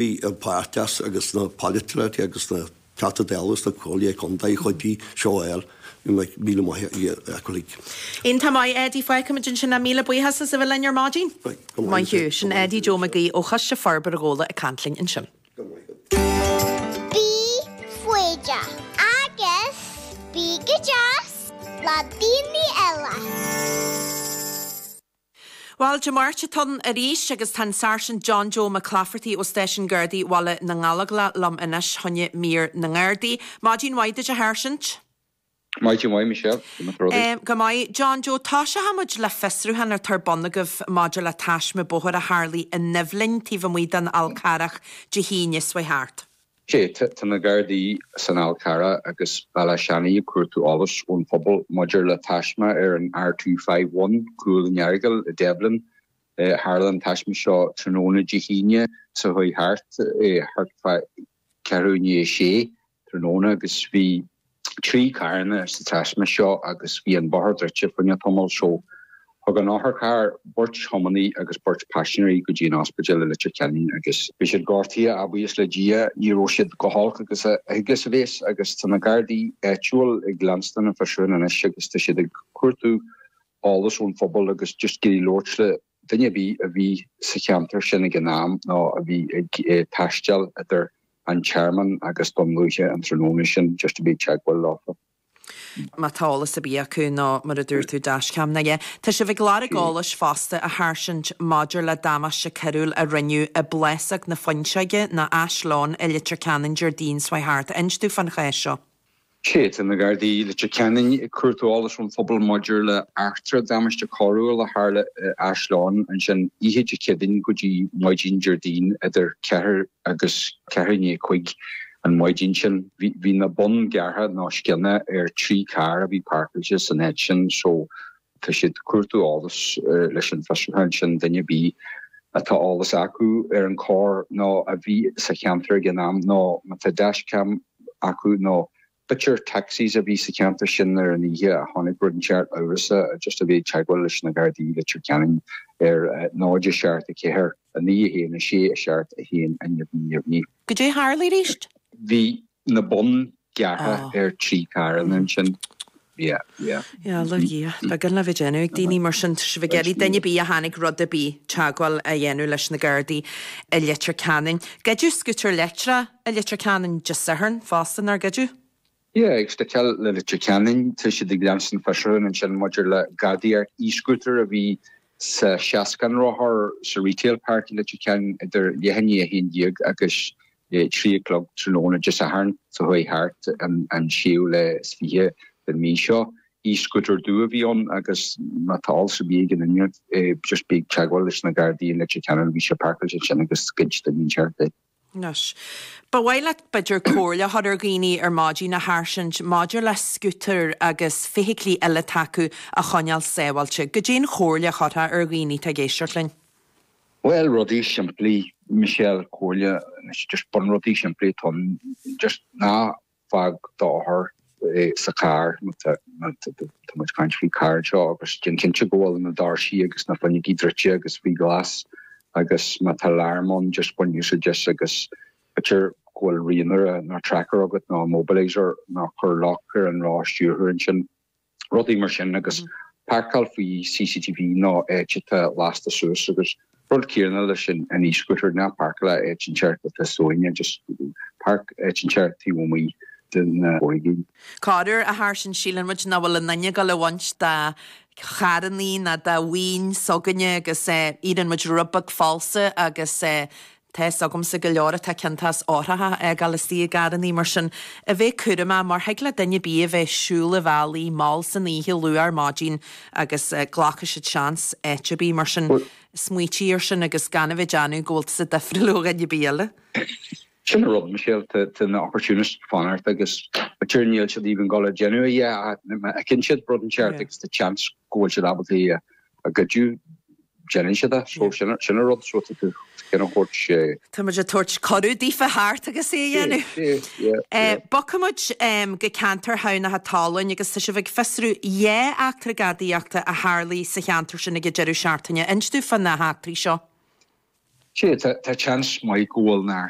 Bhí an páirteas agus na polaiteoirí agus na Teachta Dála agus na Comhairle Contae chuid seo a fháil. Míle maith acu uilig. Iontach maith, Eddie. Fágfaimid ansin é. Míle buíochas as a bheith linn ar maidin. Go maith thú. Sin Eddie Joe Mac Aoidh ó Choiste Forbartha Ghabhla ag caint linn ansin. Go maith agat. Bí foighdeach agus bí go deas le daoine eile. Bhuel, Dé Máirt atá ann arís agus tá an Sáirsint John Joe Mac Claifertaigh ó Stáisiún Gardaí Bhaile na nGallóglach liom anois choinne mír na nGardaí. Maidin mhaith duit a Sháirsint. Maidin mhaith, Michelle. Go maith rudaí. Go maith. John Joe, toiseochaidh muid le fiosrúchán atá ar bun agaibh maidir le taisme bóthair a tharlaigh i nDoibhlinn taobh amuigh den Fhál Carrach Dé hAoine seo thart. Sea, tá na Gardaí san Fhál Carrach agus Bealach Seanaidh ag cuartú eolais ón phobal maidir le taisme ar an R251, Cúil an Earagail i Duibhlinn. Tharla an taisme seo tráthnóna Dé hAoine seo chuaigh thart, thart fá ceathrú i ndiaidh a sé. tráthnóna agus bhí 3 carranna sa taisme seo agus bhí an bóthar druidte fá choinne tamall so thug an otharcharr beirt thiománaí agus beirt paisinéirí go dtí an ospidéal i Leitir Ceanainn agus bhí siad gortaithe ach buíochas le Dia ní raibh siad chomh holc agus a thig is a bheas agus tá na Gardaí áitiúil ag leanstan an fiosrúchán anois agus tá siad ag cuartú eolas ón phobal agus just ag iarraidh labhairt le duine ar bith a bhí sa cheantar sin ag an am nó a bhí ag taisteal idir an Tearmann agus Dún Lúiche an tráthnóna sin just a bheith ag teagmháil leofa. Má tá eolas ar bith acu nó mar a dúirt tú dashcam nó a dhath. Tá sibh ag lorg eolais fosta a Sháirsint maidir le damáiste coiriúil a rinneadh i bPlásóg na Fuinseoige nó Ashlawn i Leitir Ceanainn Déardaoin seo thart. Inis dúinn fán chás seo. Sea, tá na Gardaí i Leitir Ceanainn ag cuartú eolais ón phobal maidir le eachtra damáiste coiriúil a tharla i Ashlawn ansin oíche Dé Céadaoin go dtí maidin Déardaoin idir ceathair agus ceathrú i ndiaidh a cúig an mhaidin sin. Bhí na boinn gearrtha nó scionna ar thrí charr a bhí páirceáilte san áit sin so Tá siad ag cuartú eolas leis an bhfiosrúchán sin, duine ar bith atá eolas acu ar an choir nó a bhí sa cheantar ag an am nó má tá dashcam acu nó b'fhéidir taxis a bhí sa cheantar sin ar an oíche a chonaic rud inteacht amhrasach just a bheith ag teagmháil leis na Gardaí i Leitir Ceanainn ar 0 7 4 9 1 6 7 1 neamhní neamhní. Goidé a tharla arís? Bhí na boinn gearrtha ar thrí carranna ansin. Yeah, yeah. Yeah, a Dhia. Beagán le bheith déanamh ag daoine mar sin. Tá sibh ag iarraidh duine ar bith a chonaic rud ar bith teagmháil a dhéanamh leis na Gardaí i Leitir Ceanainn. Goideadh scútar leictreach i Leitir Ceanainn Dé Sathairn fosta, nár goideadh? Yeah, ag sticeáil le Leitir Ceanainn, tá siad ag leanstan fiosrúchán ansin maidir le gadaíocht e-scooter a bhí sa seascán rothar sa Retail Park i Leitir Ceanainn idir leath i ndiaidh a 11 agus 3 a chlog tráthnóna Dé Sathairn seo chuaigh thart, an séú lá is fiche den mhí seo. E-scooter dubh a bhí ann agus má tá eolas ar bith ag aon duine just bí ag teagmháil leis na Gardaí i Leitir Ceanainn, bhí sé páirceáilte ansin agus ghoid duine inteacht é. Anois, ba mhaith leat b'fhéidir comhairle a chur ar dhaoine ar maidin, a Sháirsint, maidir le scútair agus feithiclí eile atá acu a choinneáil sábháilte. Goidé an chomhairle a chuirfeá ar dhaoine atá ag éisteacht linn? Bhuel, rudaí simplí, Michelle, comhairle, just bunrudaí simplí atá ann, just ná fág d'eochair sa charr, má tá muid ag caint faoi carr anseo, agus déan cinnte go bhfuil na doirsí agus na fuinneogaí druidte agus faoi ghlas agus má tá alarm ann, just bain úsáid as agus b'fhéidir go bhfuil rianaire nó tracker agat nó immobiliser nó cuir lock ar an roth stiúrthóir ansin. rudaí mar sin agus páirceáil faoi CCTV nó áit atá lasta suas agus rud céanna leis an e-scooter, ná páirceáil áit inteacht atá somhainne, just páirc áit inteacht taobh amuigh de na foirgnimh. Corruair, a Sháirsint, síleann muid nach bhfuil aon duine ag dul a bhaint de charrannaí ná de mhaoin s'againne agus iarrann muid rud beag falsa agus Tá fhios agamsa go leor atá ciontach as eochracha a fhágáil istigh i gcarrannaí, mar sin, a bheith cúramach, mar thig le duine ar bith a bheith ag siúl an bhealaigh mall san oíche, luath ar maidin agus glacfaidh siad seans áit ar bith, mar sin, smaoitigh ar sin agus gan a bheith ag déanamh go bhfuil tusa difriúil ó dhuine ar bith eile. Sin an rud, Michelle, tá na opportunists ag fanacht agus b'fhéidir níl siad even ag dul a déanamh a dhath ach má fheiceann siad rud inteacht agus tá chance go bhfuil siad ábalta é a ghoideadh, déanann siad é. So sin an rud, so tá tú ag tabhairt. Tá muid ag tabhairt cuireadh daofa theacht agus é a dhéanamh. Bogfaidh muid go ceantar Thamhnach an tSalainn agus tá sibh ag fiosrú dhá eachtra gadaíochta a tharlaigh sa cheantar sin ag an deireadh seachtaine. Inis dúinn fá na heachtraí seo. Sea, tá seans maith go bhfuil neart.